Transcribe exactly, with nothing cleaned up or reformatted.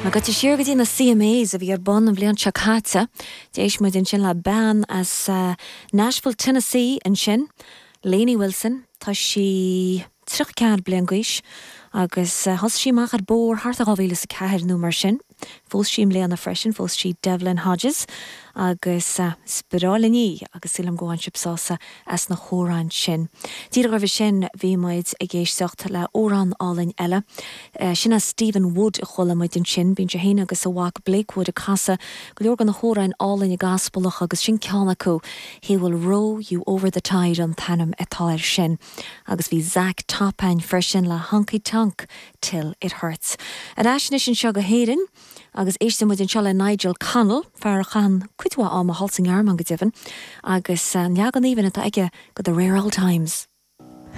Goitse siar go dtí na CMAs a bhí ar bun an bhliain seo caite, D'éist muid ansin le bean as uh, Nashville, Tennessee ansin, Lainey Wilson, Tá sí tríocha ceathair bliain d'aois agus uh, thosaigh sí amach ar bord thart dhá mhíle a ceathair nó mar sin. Phós sí i mbliana freisin, phós sí Devlin Hodges agus uh, spiráil í agus sílim go bhfuil sibh sásta as na hamhráin sin. Díreach roimhe sin bhí muid ag éisteacht le hamhrán álainn eile. Uh, sin a Stephen Wood a chuala muid ansin, bíonn sé féin agus a mhac Blake Wood ag casadh go leor de na hamhráin álainn gospelach agus sin ceann acu, He will row you over the tide an t-ainm atá air sin. agus bhí Zach Top ann freisin le Honky Tonk till it hurts. Ar ais anseo go hÉirinn, agus éistfidh muid anseo le Nigel Connell, fear a chaith cuid mhaith ama thall sa nGearmáin go deimhin, agus an leagan aoibhinn atá aige de the Rare Old Times.